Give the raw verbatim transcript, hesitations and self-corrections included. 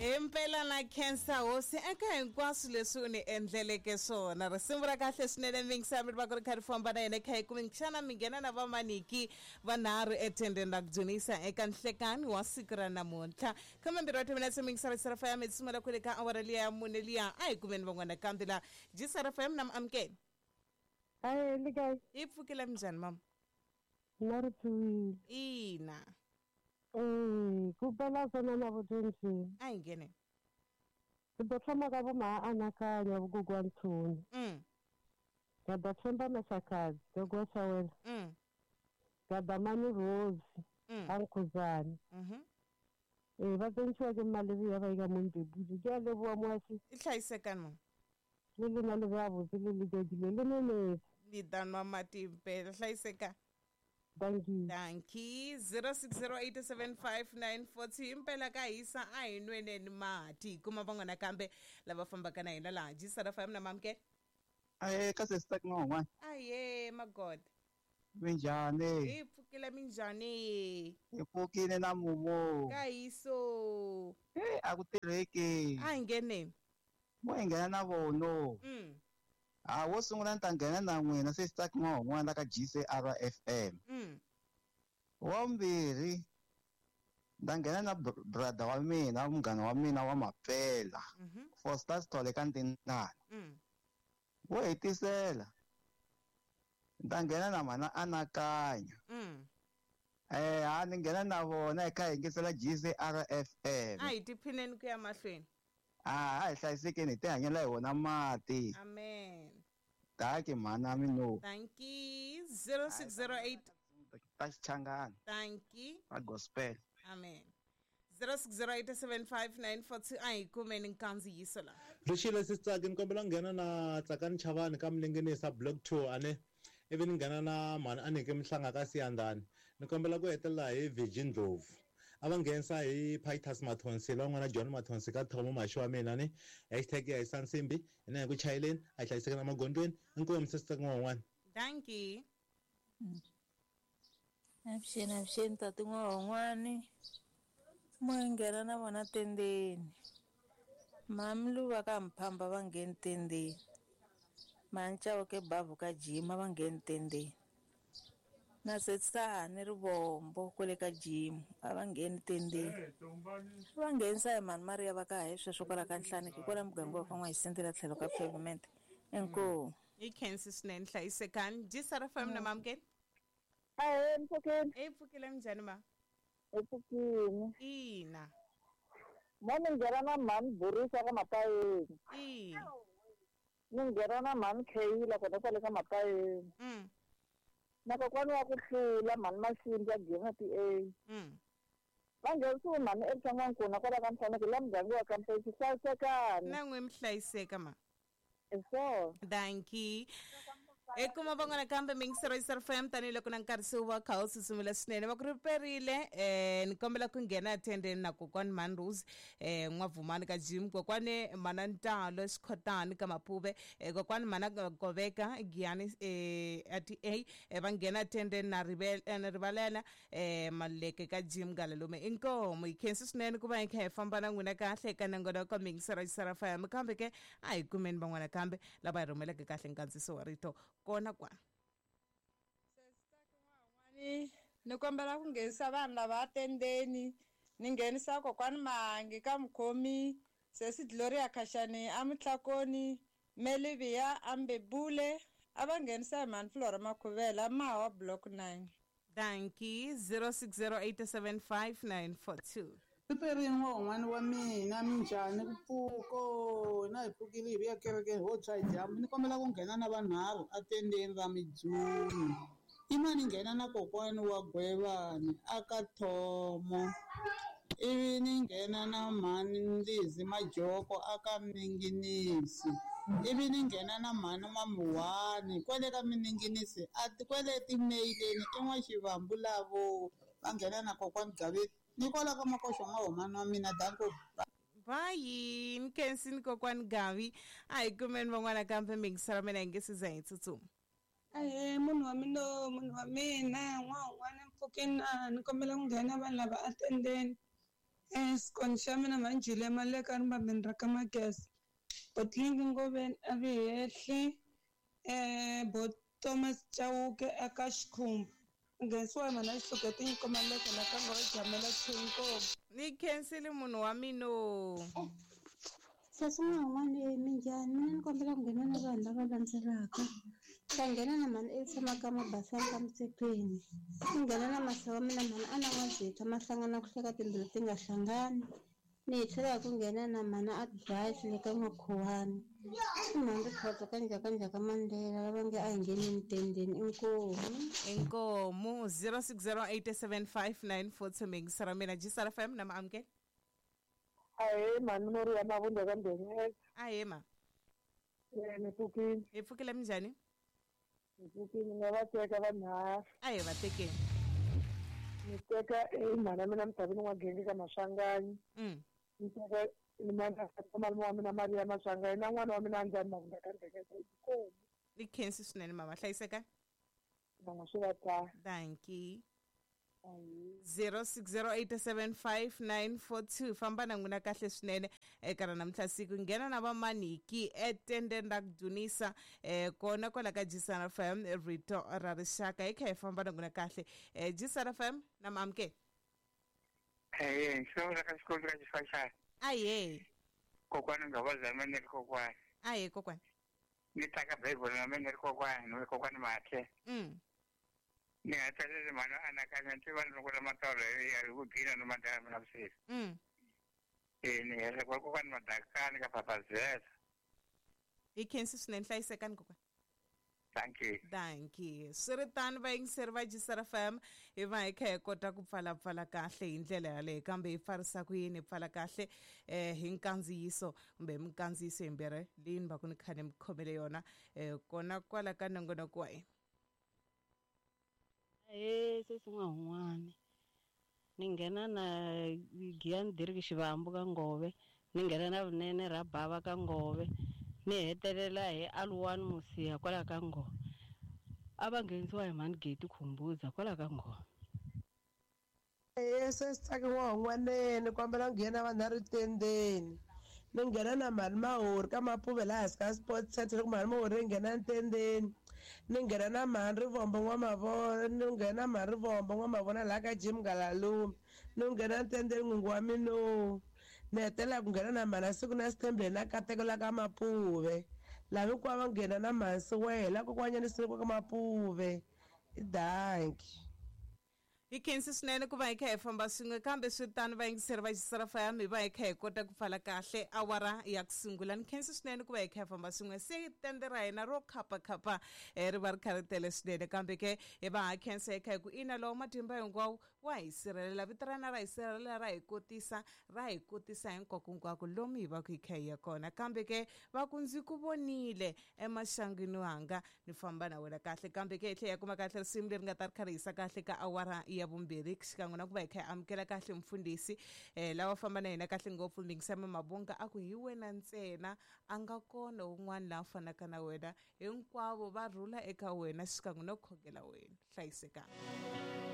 Impela na khensa hosi eka hinkwaswo leswi u ni endleleke swona. Risimu ra kahle swinene mingisa mi va ku ri kha ri famba na yena kha hi kumi xana mi nghena na vamaniki vanharhu etendeni ra ku dzunisa eka nhlekani wa siku ra namuntlha. Khume mbirhi wa timinetse mingisa ra F M hi tsumela kwele ka awara liya ya mune liya a hi kumeni van'wana kambe la G S R F M na amukela. Hayi le kae? Hi pfukile minjhani mama? Na ri pfuwile. Ina. Eh, ku bela sona na vutshunxi. A hi nghene. Ku do thoma ka voma anakanya vugugwa ntshuni. Mm. Ka da themba mashakazi, gogo shawela. Mm. Ka da mani Rose, Mm. Ankhuzani. Mhm. Eh, va tsentshiwa ke malebi ya ba ika mombebudi. Ke a leboha moashi. I hlayisekani mama? Le lena le ba botse le le jadile le nene. Ni danwa mati impela hlayiseka. Thank you. Thank you. zero six zero eight seven five nine four two impela ka hisa a hi nweneni mati kuma van'wana kambe lava fambaka na hina laha G S R F M na mamke. Aye ka sister n'wana. Aye magod. Minjhani? Hi pfukile minjhani? Hi pfukile na mumo. Ka hiso. Eh a ku tirheki. A hi ngheneni. Mo hi nghena na vono. Mm. Ah, wo sungula ni ta nghena na n'wina sister n'wana ka G C R F M. Mm. Wa mbirhi nda nghena na brother wa mina, munghana wa mina wa Mapela. Mhm. Foster Sithole ka Ndindana. Mm. Wo hetisela. Nda nghena na mana anakanya. Mm. Eh, a ni nghena na vona eka yingisela G C R F M. A hi tiphineni ku ya mahlweni. Ah, a hi hlayisekeni hi tihanyela hi wona mati. Amen. Taki mhana mino. Thank you. zero six zero eight Ta Xichangani. Thank you. Ta gospel. Amen. zero six zero eight seven five nine four two a hi kumeni nkandziyiso la. Rixile sisitsaki ni kombela nghena na Tsakani Chavani ka Mlengenisa block two ane ivi ni nghena na mhani a nike Mhlanga ka Siyandhani. Ni kombela ku hetelela hi Virgin Ndlovu. A va nghenisa hi Pitus Mathonsi la n'wana John Mathonsi ka Thomo Maxi wa mina ni hashtag ya hi Nsimbi ina hi ku chayeleni a hi hlayisekeni emagondzweni. Inkomu sisitsaki n'wan'wana. Thank you. Avuxeni avuxeni tati n'wan'wani. Mo hi nghena na vona tendeni. Mami Luva ka Mphamba va ngheni tendeni. Mhani Chauke Bavhu ka Jima va ngheni tendeni. Na Setsani Rivombo kwale ka Jim a va ngheni tendeni. Va nghenisa hi mhani Maria va ka hi sweswo kwala ka Nhlaniki kwala muganga wa ka N'wahisentela tlhelo ka pavement. Inkomu. Hi khensi swinene hlayisekani. G S R F M na mamukela. Ahe mpfukeni. Hi pfukile minjhani ma? Hi pfukile. Ina. Mo ni nghena na mhani Burisa ka Mapayeni. Ina. Ni nghena na mhani Kheyila kona kwale ka Mapayeni. Mm. Na kokwani wa ku hlula mhani Masindi ya Gina P A. Mm. Va nghenisiwe mhani Elsa N'wankuna kwala ka Nhlaneki la muganga wa ka Mpexi hlayisekani. Na n'we mi hlayiseka ma. Hi swona. Thank you. Ekuma van'wana kambe mingisero S R F M tanihiloko na nkarhi se wu va kha wu tsutsumile swinene va ku riperile eh ni kombela ku nghena etendeni na kokwani Mhani Rose eh N'wavhumani ka Jim kokwani Mana Ntalo Xikhotani ka Mapuve eh kokwani Mana Goveka Giyani eh at A eh, va nghena etendeni na Rivel na Rivalela eh Maleke ka Jim Galalume inkomu hi khensi swinene ku va hi kha hi famba na n'wina kahle eka nongonoko mingisero S R F M kambe ke a hi kumeni van'wana kambe lava hi rhumeleke kahle nkandziyiso wa rito kona kwana. Ni ni kombela ku nghenisa vanhu lava atendeni ni nghenisa kokwani Mahangi ka Mukhomi sesi Gloria Khashani a Mutlakoni Melivia Ambebule a va nghenisa hi mhani Flora Makhuvela Mawa block nine. Thank you. zero six zero eight seven five nine four two. Piperini wa wa mina minjhani ku pfuko na hi pfukile hi vuya kerekeni ho tshwa hi dyambu ni kombela ku nghena na vanharhu atendeni ra Midzuni i mani nghena na kokwani wa Gwevani aka Thomo ivi ni nghena na mhani Ndlizi Majoko aka Minginisi ivi ni nghena na mhani N'wamuhani kwale ka Mininginisi a kwale timeileni i N'waxivambu lavo va nghena na kokwani Gaveni ni kwala ka Makoxo n'wa wa mina danko. Bye nkhensi ni kokwani Gavi a hi kumeni van'wana kambe mingisela mina hi nge se za hi tsutsuma. Ahee munhu wa mina munhu wa mina n'wan'wana mpfukeni na ni kombela ku nghena vanhu lava atendeni. Eh xikoni xa mina manjhile maleka ni vambeni ra ka Mageza. Botlingi Ngoveni a vi hehli eh bo Thomas Chauke eka Xikhumba. Nghenisiwa hi mhana Xihluke tinyiko maleka la ka nghohe jamela Chinkomu. Ni khensile munhu wa mina. Sesi n'wana minjhani mina ni kombela ku nghena na vanhu lava landzelaka ta nghena na mhani e tshama ka Mabasani ka Mutshekweni ni nghena na masa wa mina mhani a na n'wazitha ma hlangana ku hleka timbilu ti nga hlangani ni hi tlhela hi ku nghena na mhani Advice le ka N'wakhuwani i mhani Rikhotso ka Njhakanjhaka Mandela lava nge a hi ngheneni tendeni inkomu Inkomu zero six zero eight seven five nine four two mingisa ra mina G S R F M na maamukela. Ahee mhani Mori ya Mavundla ka Mbhenyeza. Ahee ma. Eh ni pfukile. Hi pfukile minjhani? Ni pfukile ni nga va teka vanharhu. Ahee va tekeni. Ni teka e mhani ya mina Mdavini N'wagenge ka Maswanganyi. Mm. Ni teka ni malume wa mina Maria Maswanganyi na n'wana wa mina Andzani Mavundla ka Mbhenyeza. Inkomu. Ni khensi swinene mama hlayiseka. Va swi va ta. Dankie. zero six zero eight seven five nine four two famba na n'wina kahle swinene eka ra namuntlha siku nghena na vamaniki etendeni ra ku dunisa eh kona kwala ka G S R F M rito ra rixaka hi kha hi famba na n'wina kahle eh G S R F M na maamukela. Eh xo ra ka xikolo ka xifasha. Aye. Kokwana nga va zama ni ri kokwana. Aye kokwana. Ni taka Bible na mina ri kokwana ni kokwana mathe. Mm. Ni nga tsaleli mhani anakanya nti vanhu loko la matolo ya hi ku gina no madama na vusiku. Mm. Eh ni hele kwa kokwana madakani ka papazela. Hi khensi swinene hlayisekani kokwana. Thank you. Thank you. Swi ri tano vayingiseri va G S R F M hi va hi kha hi kota ku pfalapfala kahle hi ndlela yaleyo kambe hi pfarisa ku yini hi pfala kahle eh hi nkandziyiso kumbe hi minkandziyiso yimbirhi leyi ni va ku ni kha ni mi khomele yona eh kona kwala ka nongonoko wa hina. Eh sesi n'wahun'wani ni nghena na Giyani Dirk Xivambu ka Ngove ni nghena na Vunene ra Bava ka Ngove ni hetelela hi Aluwani Musiya kwala ka Ngove a va nghenisiwa hi mhani Geti Khumbuza kwala ka Ngove. Eh sesi Tsaki n'wahun'waneni ni kombela ku nghena vanharhu tendeni ni nghena na mhani Mahori ka Mapuve laha hansi ka Sports Center loko mhani Mahori yi nghena ntendeni ni nghena na mhani Rivombo N'wamavona ni nghena na mhani Rivombo N'wamavona laha ka Jim Ngalalume ni nghena ntendeni n'wingi wa mina ni hetelela ku nghena na mhani siku na Sithembile na Kateko la ka Mapuve laha hinkwavo va nghena na mhani Siwela kokwanyana siku ka Mapuve i danki. Hi khensi swinene ku va hi kha hi famba swin'we kambe swi tano vayingiseri va G S R F M hi va hi kha hi kota ku pfala kahle awara ya ku sungula ni khensi swinene ku va hi kha hi famba swin'we se tende ra hina ro khapakhapa ri va ri kha ri tele swinene kambe ke hi va ha khensa hi kha hi ku ina lowo matimba hinkwawo wa hi sirhelela vito ra na ra hi sirhelela ra hi kotisa ra hi kotisa hinkwakonkwako lomu hi va ku hi kha hi ya kona kambe ke va ku ndzi ku vonile emaxangwini wanga ni famba na wena kahle kambe ke hi tlhela hi kuma kahle risimu leri nga ta ri kha ri yisa kahle ka awara ya vumbirhi xikan'we na ku va hi kha hi amukela kahle mfundhisi eh lawa famba na hina kahle ngopfu Mingisama Mabonga a ku hi wena ntsena a nga kona un'wana la fanaka na wena hinkwavo va rhula eka wena xikan'we no khongela wena hlayisekanga.